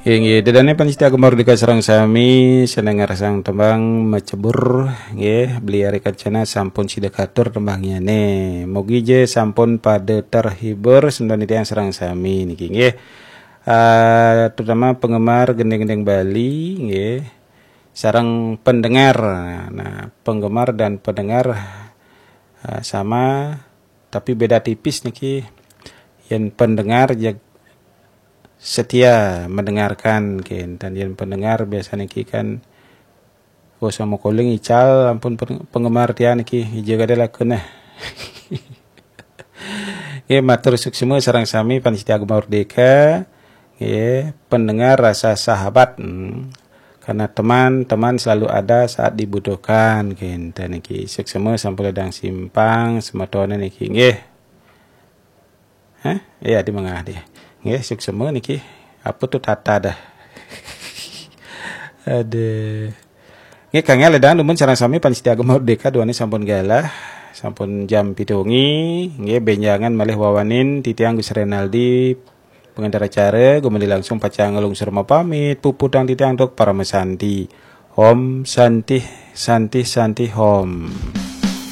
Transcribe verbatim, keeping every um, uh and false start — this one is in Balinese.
Inggih, ida dané pamiarsa Gema Merdeka sareng sami, sané ngrasang tembang Macebur, nggih, Beli Ari Kencana sampun sida katur tembangnyané. Mugi ja sampun pada terhibur semeton titiang sareng sami niki, nggih. Ah, terutama penggemar gending-gending Bali, nggih. Sareng pendengar. Nah, penggemar dan pendengar, ah, sama, tapi beda tipis niki. Yén pendengar ya setia mendengarkan, kénten. Yén pendengar biasa niki kan, oh, sama calling ical, ampun, peng-, penggemar tiang niki, ija kada laku nah. Nggih, matur suksma sareng sami pamiarsa Gema Merdeka. Nggih, pendengar rasa sahabat. Hmm. Karena teman, teman selalu ada saat dibutuhkan. Kénten niki, suksma sampun ledang simpang, semetoné niki. Nggih. Hah? Iya, di mangah dia. Nggih, suksma niki. Apa tuh tata dah. Aduh. Nggih, kangge ledang dumun sareng sami pamiarsa Gema Merdeka, duaning sampun galah, sampun jam pitu wengi, nggih, bénjangan malih wawanin titiang Gus Renaldi, pengantar acara, gumanti langsung pacang nglungsur mapamit, puputang titiang antuk parama santi. Om Santi, Santi, Santi, Om.